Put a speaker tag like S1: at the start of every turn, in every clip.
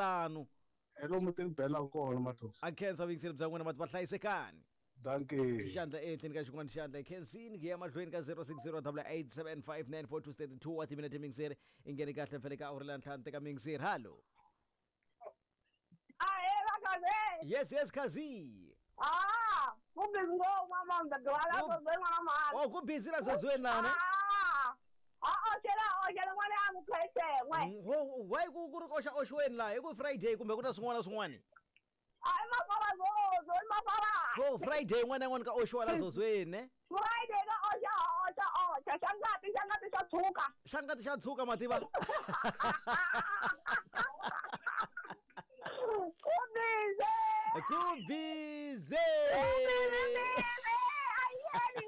S1: Lanu.
S2: Hi lomu ti ni belaka kona Mathosa.
S1: A khensa vuyingiseri bya n'wina vati va hlayisekani.
S2: Dankie.
S1: Xandla ehenhleni ka xin'wana xandla hi khensini ku ya mahlweni ka 0608875942 wa timinete miyingiseri i nghene kahle mfele ka awuri la ntlhanu teka miyingiseri hallo.
S3: Ahe vakaze.
S1: Yes yes khazi.
S3: Ah, ku busy ngopfu mama mdadwala
S1: Ku-
S3: zozweni n'wana mhani.
S1: Oh ku busy la zozweni lana.
S3: Ah. Ah, oxela oxela n'wana ya mukhwese n'we.
S1: Ho why ku ku ri koxa oxweni laha hi ku Friday kumbe ku na swin'wana na swin'wana.
S3: A i mafara zozo, i mafara.
S1: Ho Friday yin'wana na yin'wana ka oxiwa la zozweni ne.
S3: Friday ka oxa oxa oxa xa ngati xa ngati xa tshuka.
S1: Xa ngati xa tshuka mativa.
S3: Ku busy.
S1: Ku busy.
S3: Ayeni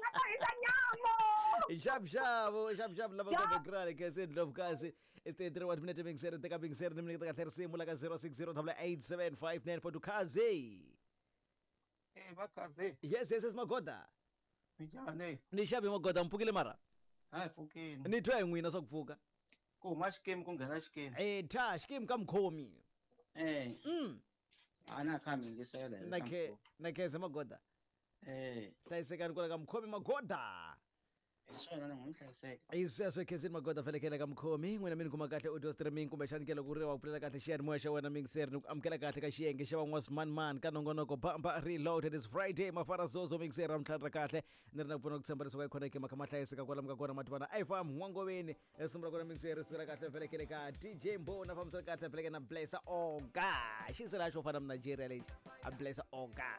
S3: nga ta hisa nyamo.
S1: Xavuxavu xavuxavu lava
S3: Ya.
S1: ka grale kese ndlovukazi it's 33 wa minete mingiseri teka mingiseri ni miniketa kahle risimu la ka 060 875 kaze.
S4: Eh va kaze.
S1: Yes yes yes magoda.
S4: Minjhani?
S1: Ni xavi magoda mpfukile mara.
S4: Hayi pfukini.
S1: Ni twa hi n'wina swa ku pfuka.
S4: Ku huma xikimi ku nghena xikimi.
S1: Eh tha xikimu ka mukhomi.
S4: Eh.
S1: Mm.
S4: A na kha mi yingisela hi
S1: Na
S4: ka
S1: khe
S4: mukhomi.
S1: na kheze magoda.
S4: Eh,
S1: Hlayisekani kwala ka mukhomi magoda.
S4: hi swona ni n'wi hlayiseka.
S1: Hi sweswo khensini magoda felekele ka mukhomi n'wina mi ni kuma kahle audio streaming kumbexani ke loko ri wa ku pfulela kahle xiyanimoya xa wena mixer ni ku amukela kahle ka xiyenge xa van'waswimanimani ka nongonoko bamba reloaded is Friday mafara zozo mixer ra mintlhanu ra kahle ni ri na ku pfuna ku tshemba leswaku yi khoneke maka ma hlayiseka kwalamu ka kona mativana a yi fam n'wangoveni risimu ra kona mixer ri sukela kahle felekele ka DJ Mbona fambisana kahle feleke na Blessa Oga xisela xo fana na Nigeria lexi a Blessa Oga.